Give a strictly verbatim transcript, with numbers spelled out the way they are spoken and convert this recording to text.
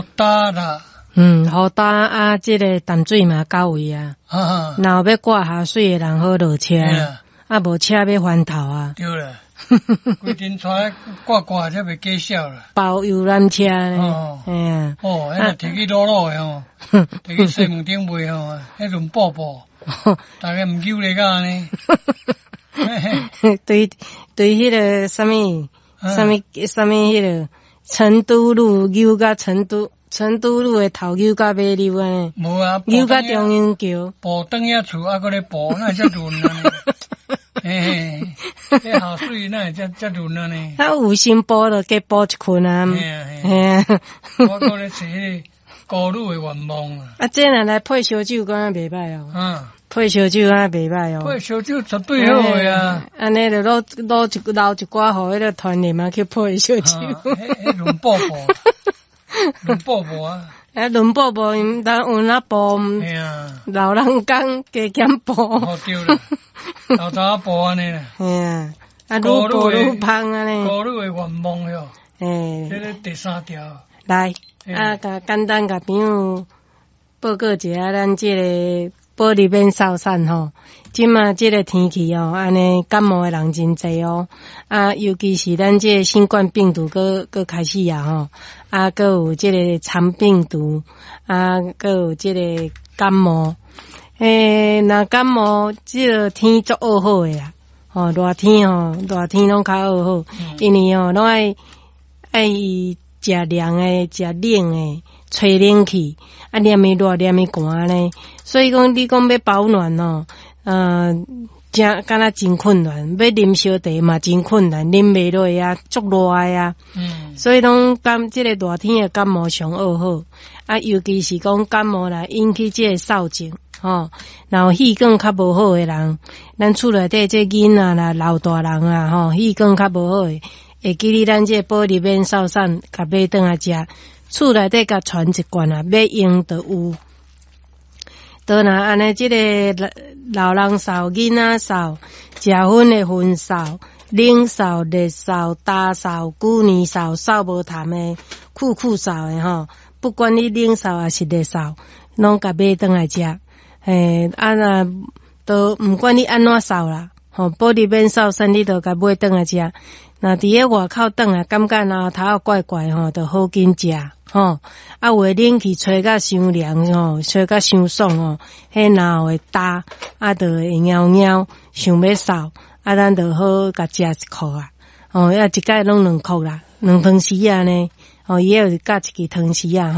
雨焦啦。嗯，雨焦啊，這个淡水嘛到位啊。啊。若有欲掛下水的人好落車，啊，無車欲翻頭啊。對啦。規陣帶掛掛才袂假痟啦。包遊覽車呢。哦。嘿啊。哦，彼若提去魯魯的吼，提去西門町賣吼，彼陣布布，逐家毋揪咧甲按呢。對對，彼个啥物啥物啥物彼个成都路扭甲成都成都路的頭扭甲尾溜按呢。無啊，扭甲中央橋。步轉遐厝啊，閣咧步，哪會遮潤按呢？嘿嘿，彼下水哪會遮遮潤按呢？啊，有心步就加步一圈啊。嘿啊嘿啊。我閣咧揣彼个孤女的願望啊。啊，這若來配燒酒，敢若袂䆀哦。嗯。配燒酒敢若袂䆀哦。配燒酒絕對好的啊。按呢就滷滷一留一寡予彼个團員嘛去配燒酒。彼彼潤布布，潤布布啊。啊，潤布布，𪜶有哪步？嘿啊。老人工加減步。哦，對啦，老早步按呢啦。嘿啊，啊，愈步愈芳按呢。孤女的願望喲。嘿。這个第三條。來，啊，共簡單共朋友報告一下，咱這个保利免掃散吼。這馬這个天氣哦，按呢感冒的人真濟哦。啊，尤其是咱這个新冠病毒閣閣開始啊吼，啊，閣有這个腸病毒，啊，閣有這个感冒。欸，若感冒，這个天足惡好的啦。吼，熱天吼，熱天攏較惡好，因為吼攏愛愛食涼的、食冷的，吹冷氣，啊，連咪熱，連咪寒呢。所以講，你講欲保暖哦，呃，真敢若真困難，欲啉燒茶嘛真困難，啉袂落啊，足熱的啊。嗯。所以攏感這个熱天的感冒上惡好，啊，尤其是講感冒來引起這个嗽症，吼，然後氣管較無好的人，咱厝內底這囡仔啦、老大人啊，吼，氣管較無好的，會記得咱這个保利免掃散，共買轉來食，厝內底共傳一罐啊，欲用就有。當若按呢，這个老人嗽、囡仔嗽、食薰的薰嗽、冷嗽、熱嗽、焦嗽、舊年嗽、嗽無痰的、苦苦嗽的吼，不管你冷嗽抑是熱嗽，攏共買轉來食。嘿，啊若都毋管你按怎嗽啦，吼，保利免掃散，你都共買轉來食。若佇咧外口轉來，感覺喉頭怪怪吼，就好緊食吼。啊，有的冷氣吹甲傷涼吼，吹甲傷爽吼，彼喉會焦，啊，就會枵枵，想欲嗽，啊，咱就好共食一箍啊。吼，啊，一擺攏兩箍啦，兩湯匙按呢，吼，伊有加一支湯匙仔吼。